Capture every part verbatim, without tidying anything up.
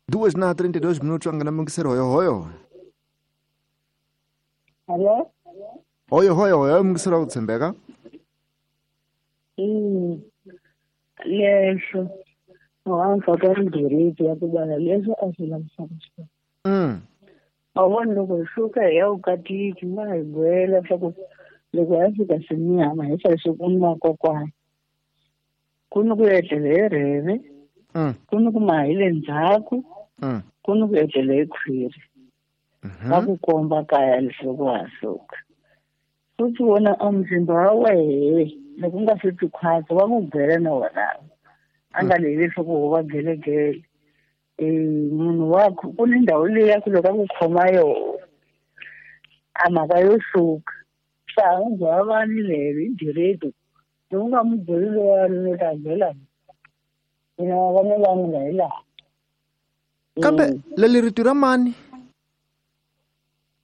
Duas na trinta e dois minutos angana mungisero hoyo hoyo. Hello? Hoyo hoyo hoyo mungisero ku tshembeka. Mm. Lesho. Wa ka ndiriti ya ku bana lesho a swi lavisaka. Mm. A vona loko hi suka hi ya vukatiki ma hi byela leswaku loko ya fika swinyama hi swa ku nwa kokwana. Ku ni ku etlela hi rheve. Mm. Ku ni ku maha hi le ndzhaku. Mm. Ku ni ku etlela hi khwiri. Va ku komba kaya leswaku wa suka. Futhi wona a muzimba wa wehe loko u nga swi twi khwatsi va ku byela na wona. A nga leyi leswaku wo va gelegele. Eh munhu wa ku ni ndhawu leyi ya ku loko a ku khoma yoho a mhaka yo suka. Swa ha n'wi byela vani leri hi direct. Loko u nga n'wi byeli lowani no ta byela. Mina vana va mina hi laha. Kambe leli rito ra mani?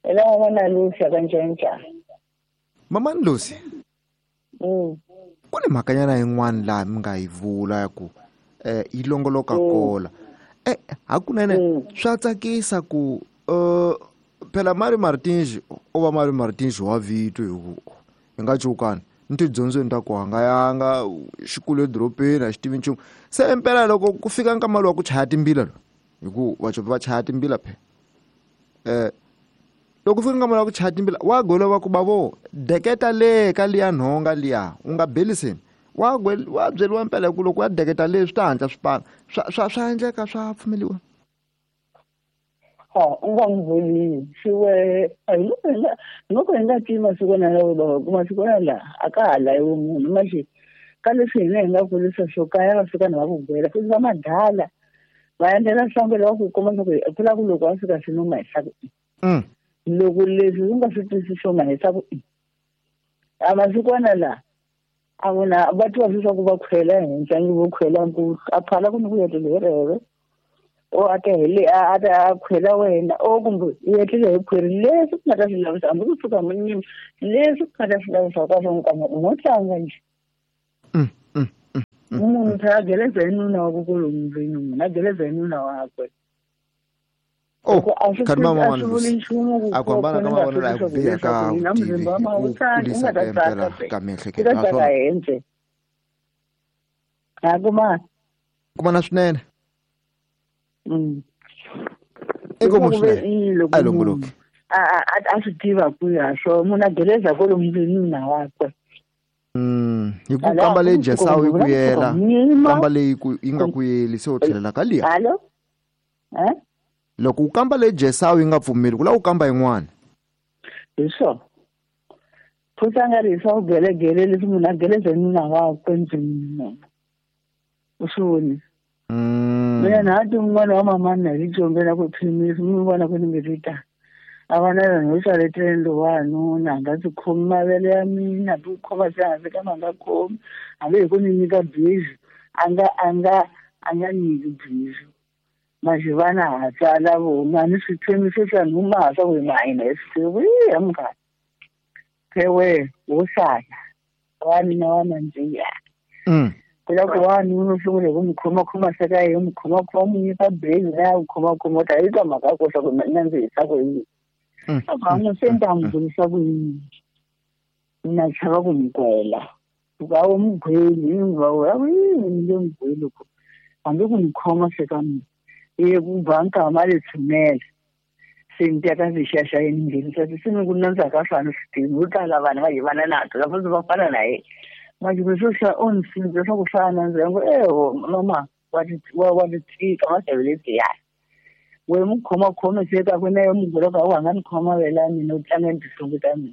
Hi laha vana Lucy ka Ncenca. Mamani Lucy? Mm. Ku ni mhakanyana yin'wana laha mi nga yi vula ya ku eh yi longoloka kola. Eh hakunene swa tsakisa ku eh phela Mari Martins o va Mari Martins wa vito hi ku hi nga cukani ni tidyondzweni ta ku hanga yanga xikolo edorobeni a xi tivi nchumu. Se impela loko ku fika nkama lowa ku chaya timbila lo hi ku vacopi va chaya timbila phe eh loko fika nkama lowa ku chaya timbila wa golova ku bavo deketa le ka liya nhonga liya u nga beliseni wa wa byeriwa mpela ku loko ya deketa le swi ta hatla swi pana swa swa swa endleka swa pfumeliwa. Ha u nga n'wi vuli swi a hi loko hi nga loko hi nga tivi masikwana lawa bava ku masikwana laha a ka ha layiwi munhu maxi ka leswi hina hi nga kurisa swo kaya va fika na va ku gwela futhi va madala va endlela nhlangelo wa ku komba leswaku ku lava ku loko a fika swi numa hi hlaku loko leswi u nga swi twisisi swona hi hlaku a masikwana laha a vona va twa leswaku va khwela henhla ngi vo khwela nkulu a phala ku ni ku etlela hi rheve o a ta hi le a ta khwela wena o kumbe u etlela hi khwiri leswi ku nga ta swi lavisa hambi ku suka munyima leswi ku nga ta swi lavisa ka swo nkama u ngo tlanga nje. Munhu phela a geleza hi nuna wa ku kwalomu ndlwini munhu a geleza hi nuna wakwe. Oh, kharima mama Lucy. A ku hambana ka mavonelo a ku biha ka vutivi ku kulisa ka impela ka miehleketo naswona a kuma kumana swinene. Mm. Inkomu swinene a yi longoloki a a a swi tiva ku ya swo munhu a geleza kwalomu ndlwini nuna wakwe. Mm, hi ku kamba leyi Jesawu yi ku yela kamba leyi ku yi nga ku yeli se u tlhelela ka liya. Hallo? Eh? Loko u kamba leyi Jesawu yi nga pfumeli ku lava u kamba yin'wana. Hi swona. Futhi a nga ri hi swa vugelegele leswi munhu a geleza nuna wakwe ndlwini munhu. U swi voni? Mm. Mina na ti un'wana wa mamani na hi combela ku phimisa mi vona ku ni nge ri ta. A va na yona yo xavetela lowanuna a nga ndzi khomi mavele ya mina hambi ku khoma se hansi kambe a nga khomi hambi hi ku ni nyika bizu a nga a nga a nga nyiki bizu. Maxivana ha tsala vona ni swithemiso swa nhuma swa ku hi mahina hi swi tivi ya munghana. Phewe wo sala wa mina wa nandziha. Mm. Ku la ku wanuna u sungule ku n'wi khomakhoma se ka yena n'wi khomakhoma n'wi nyika bezi na ya ku khomakhoma u ta yi twa mhaka ya ku swa ku nandzihisa ku yini. A ku a se ni ta n'wi vurisa ku yini na chava ku n'wi gwela. Ku a wu n'wi gweli hi va a ku yini ni nge n'wi gweli ku hambi ku n'wi khoma se ka mina. Ye ku ba nkama le tshunela se ni teka xaxa yi ni nghenisa se ni ku nandziha ka swa ni swi tivi vo tala vanhu va yivana nato lava va fana na yena. Manje swo swa o ni sindzisa swa ku swa nandziha ngo eho mama wa ti wa wa ti tika ma xaveleti ya. We mu khoma khome se ka ku na yo mu gwela ka wa nga ni khoma vela mina u tlanga ni tihlungu ta mina.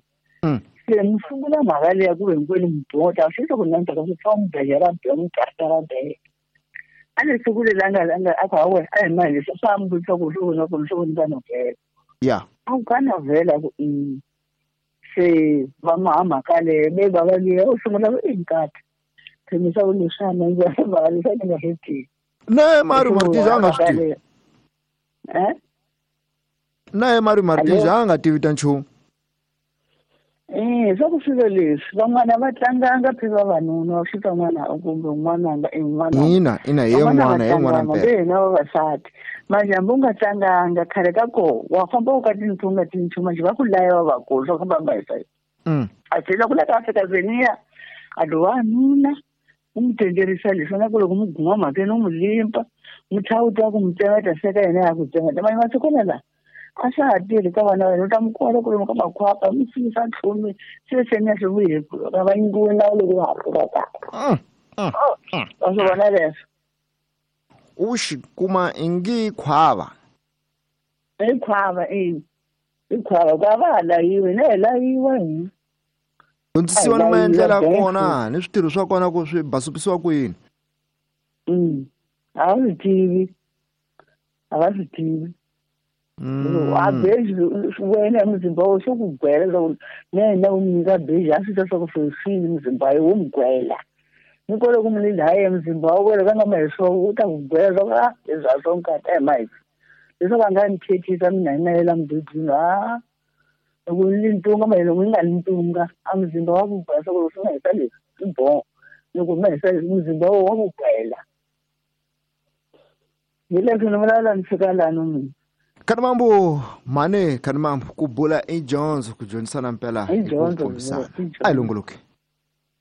Se ni sungula mhaka leya ku ve hinkwenu mi bota swi ku nandziha ka swi fa mu bejela be mu kartara be. A ni sungule la nga nga a ku hawe a hi mali leswi swa mi vutisa ku swi vona ku swi vona ka novhela. Ya. A ku ka novhela ku i se va ma mhaka leyi ve va va liya u sungula ku i nkata. Themisa ku leswi a nandziha mhaka leswi a ni nga swi tivi. Na Mari Martins a nga swi tivi. Eh? Na Mari Martins a nga tivi ta nchumu. Eh, swa ku swilo leswi van'wana va tlanganga phe vavanuna va fika n'wana kumbe n'wananga i n'wana ina ina hi n'wana hi n'wana mpela hina vavasati manje hambi u nga tlanganga khale ka koho wa famba u ka tintsonga nga tintshu manje va ku laya vavakulu swa ku famba hi sayi a tlhela ku la ka Afrika Zeniya a do wanuna u n'wi tenderisa leswi na ku loko mu guma mhakeni u n'wi limpa mu tlhawuta ku mu tsemeta seka yena ya ku tsemeta manje masikwana lawa a swa ha tirhi ka vana va hina u ta mi kola ku lomu ka makhwapa mi sinisa ntlhumi se se ni ya swi vuye ka va nyikiwe nawu loko va ha ri ka wa swi vona leswo u xi kuma ingi khwava i khwava i i khwava ku a va ha layiwi na hi layiwa hina dyondzisiwa ni maendlelo ya kona ni switirho swa kona ku swi basupisiwa ku yini a va swi tivi a va swi tivi a beji wena muzimba wo swo ku gwela leswaku na yena u nyika beji a swi twa swa ku sweswini muzimba wa wo mu gwela ni kole ku mu lhaye muzimba wa wena ka nga ma hi swona u ta ku gwela leswaku a leswi a swo nkata hi mahisa leswaku a nga ni thethisa mina hi na yela mududwini a loko ni ntunga ma loko ni nga ni ntunga a muzimba wa ku gwela swa ku loko swi nga hisa leswi swi boho loko ma hisa leswi muzimba wo wa ku gwela hi leswi ni vulavula ni fika lani mina Kanimambu mane Kanimambu ku bula i dyondzo ku dyondzisana mpela i dyondzo a yi longoloki.